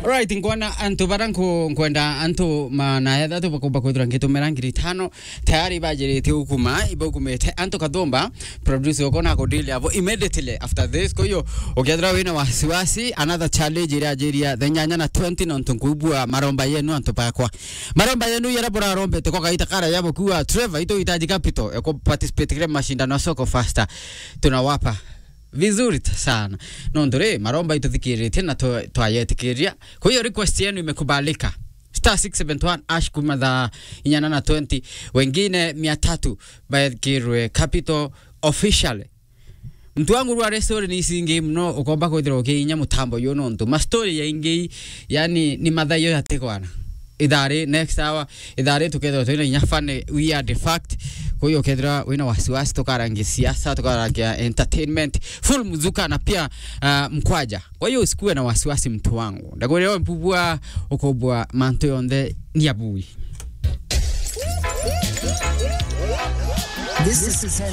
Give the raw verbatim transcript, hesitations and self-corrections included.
Alright, nkwana antu bara nku-, nkwenda antu ma-, na etha tu bakumba kwithira ngitumira ngiri itano, tayari bajirite ukuma, ibaukumite antu kathumba, producer uko na kudili avo immediately after this. Kwa hiyo, ukethira wina wasiwasi, another challenge iria ajiria the nyanya na twenty, nontu nkubua maromba yenu antu bakwa. Maromba yenu yara burarombete kwa kaita kara yabo kuwa, Trevor, ituhitaji capital ya ku participate kire mashindano ya Soko Faster. Tunawapa vizuri t-, sana. Nontu ri, maromba ituthikiritie na twa-, twayetikiria. Kwa hiyo request yenu imekubalika. Star six seven one hash kuma thaa inyana na twenty. Wengine mia tatu baekirwe capital officially. Muntu wangu rwa story ni icingi muno, ukomba kwithirwa ukiinya mutambo uyu nontu ma story yaingi, yani, ni mathayo yatigwana. Ithari next hour, ithari tukethirwa twina inya funny, weird fact. Kwa hiyo ukethirwa wina wasiwasi, tukarangia siasa, tukarangia entertainment, full mzuka na pia, ah, mkwaja. Kwa hiyo usikuwe na wasiwasi, mtu wangu. Ndakwira we mpubua, ukubua mantu yonthe ni abui. This is